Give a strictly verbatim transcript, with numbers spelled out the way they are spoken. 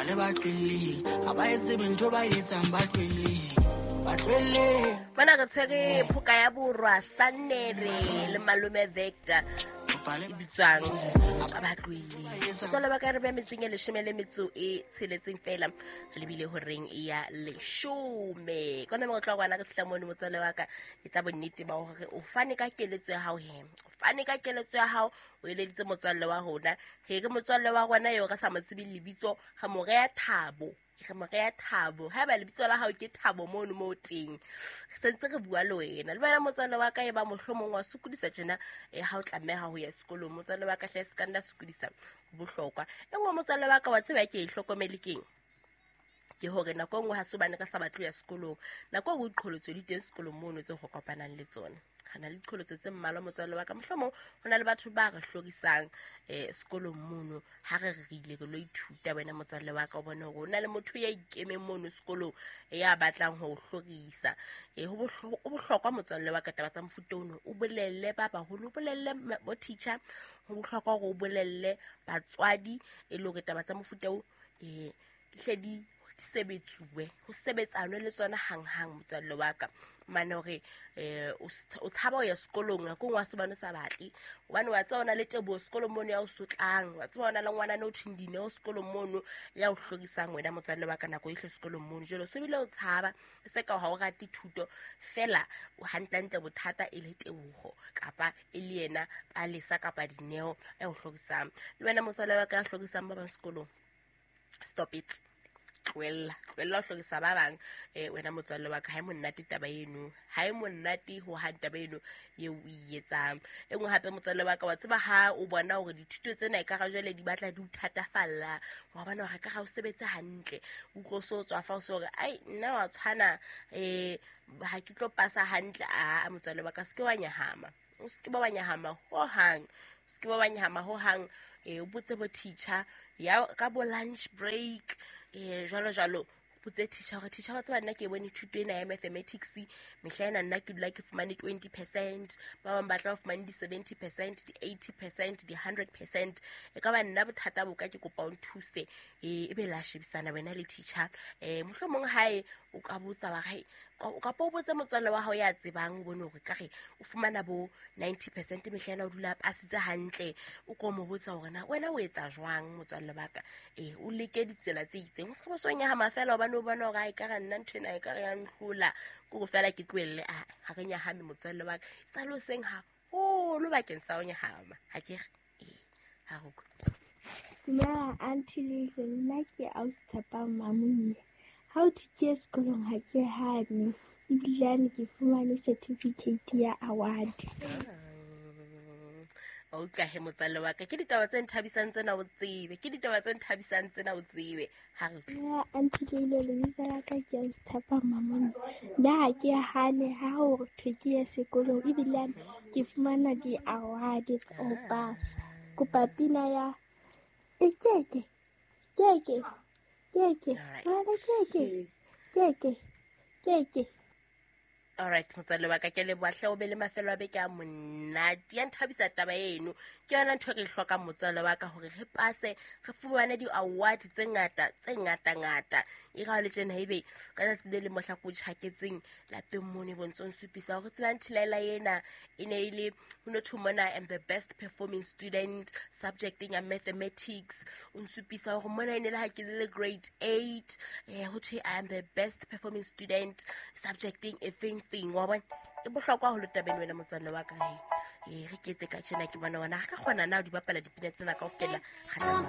Bale ba tlohelleng, ha ba etse ntho ba etsang ba tlohelleng. Ba tlohelleng. Mona re tshwere phoka ya borwa Sannere le malome Vector e bitswang ba tlohelleng. Motswalle wa ka re be metseng e leshome le metso e tsheletseng fela re lebile horeng ya leshome. Ka nako tloha kwana re fihla mono motswalle wa ka etsa bonnete ba hore o fane ka keletso ya hao he. O fane ka keletso ya hao o eleditse motswalle wa rona. Re re motswalle wa rona eo re sa mo tsebeng lebitso re mo reha Thabo. Re mo reha Thabo. Haeba lebitso la hao ke Thabo mono mo teng, re sentse re bua le wena. Le wena motswalle wa ka e ba mohlomong wa sokodisa tjena eh, ha o tlameha ho ya sekolong. Motswalle wa ka hle se ka nna sokodisa, ho bohlokwa. E nngwe motswalle wa ka wa tseba ke e hlokomele keng? Ke hore nako e nngwe ha se hobane re sa batle ho ya sekolong. Nako e nngwe diqholotso di teng sekolong mono tseo re kopanang le tsona. Re na le diqholotso tse mmalwa motswalle wa ka. Mohlomong ho na le batho ba re hlorisang eh, sekolong mono. Ha re re ile re lo ithuta wena motswalle wa ka, o bone hore ho na le motho ya ikemeng mono sekolong ya batlang ho o hlorisa. Eh, ho bohlo-, ho bohlokwa motswalle wa ka taba tsa mofuta ono. O bolelle ba baholo, o bolelle ma-, bo teacher. Ho bohlokwa hore o bolelle batswadi e le hore taba tsa mofuta o, eh, di hle di sebetsuwe, ho sebetsanwe le tsona hanghang motswalle wa ka. Mane hore, eh, o s-, o tshaba ho ya sekolong, nako e nngwe ha se hobane o sa batle. Hobane wa tseba ho na le teboho sekolong mono ya o sotlang, wa tseba ho na le ngwanana o thweng Dineo sekolong mono ya o hlorisang wena motswalle wa ka nako yohle sekolong mono. Jwale o so bile o tshaba, e se ka ha o rate thuto, fela hantlentle bothata e le teboho kapa e le yena Palesa kapa Dineo ya o hlorisang. Le wena motswalle wa ka ya hlorisang ba bang sekolong, stop it. Tlohella, tlohella ho hlorisa ba bang. Eh, wena motswalle wa ka, ha e monate taba eno, ha e monate ho hang taba eno eo o e etsang. E nngwe hape motswalle wa ka, wa tseba ha o bona hore dithuto tsena ekare jwale di batla di o thatafalla, wa bona hore ekare ha o sebetse hantle, o utlwe o so tswa fa o so hore, ai, nna wa tshwana, eh, ha ke tlo pasa hantle. A, motswalle wa ka, se ke wa nyahama. O se ke ba wa nyahama hohang. O se ke ba wa nyahama hohang. Eh, o botse bo teacher ya ka bo lunch break, eh, jwalo jwalo. O botse teacher hore teacher wa tseba nna ke bone thuto ena ya mathematics mehla ena nna ke dula ke fumane twenty percent, ba bang ba tla fumane di seventy percent, di eighty percent, di hundred percent. E ka ba nna bothata bo ka ke kopa o nthuse. Eh, ebe la shebisana wena le teacher. Eh, mohlomong hae o ka botsa wa re, o kapa o botse motswalle wa hao ya tsebang, o bone hore ka re o fumana bo ninety percent mehla ena o dula a pasitse hantle. O ko mo botsa hore na wena o etsa jwang motswalle wa ka. Eh, o leke ditsela tse itseng. O se ka ba so nyahama fela hobane o bona hore ha ekare nna ntho ena ekare ya nhlola, ke hore fela ke tlohelle. Ah, ha re nyahame motswalle wa ka. Sa le hoseng haholo bakeng sa ho nyahama. Ha ke re? Eh, ha re utlwe. Dumela Aunty Lihle, nna ke ausi Tshepang Mamonye. Ha o thwe ke ye sekolong ha ke hane, ebilane ke fumane certificate ya award. Wa utlwa he motswalle wa ka, ke ditaba tse nthabisang tsena o tsebe, ke ditaba tse nthabisang tsena o tsebe. Ha re utlwe. Nna Aunty Leile, lebitso la ka ke ausi Tshepang Mamonye. Nna ha ke hane ha ho thwe ke ye sekolong, ebilane ke fumana di-award tsa ho pasa. Kopa pina ya e keke, keke, keke, All right. ngwana keke, keke, keke. All right, motswalle wa ka, ke leboha hle, o be le mafelo a beke a monate. Ya nthabisa taba eno. Ke yona ntho e re e hlokang motswalle wa ka, hore re pase, re fumane di-award tse ngata, tse ngata-ngata. E ra le tjena ebe ka tsatsi le leng mohla ko tjhaketseng lapeng mono e bontse o nsupisa hore tseba Nthilaela ena e ne e le, ho no thwe mona I am the best performing student subjecting ya mathematics. O nsupisa hore mona e ne le ha ke le grade eight, eh, ho thwe I am the best performing student subjecting e feng feng, wa bona. E bohlokwa haholo tabeng wena motswalle wa ka, he. Eh, re ke etse ka tjena ke bona wena ha ka kgona na ho di bapala dipina tsena kaofela. Kgahlano.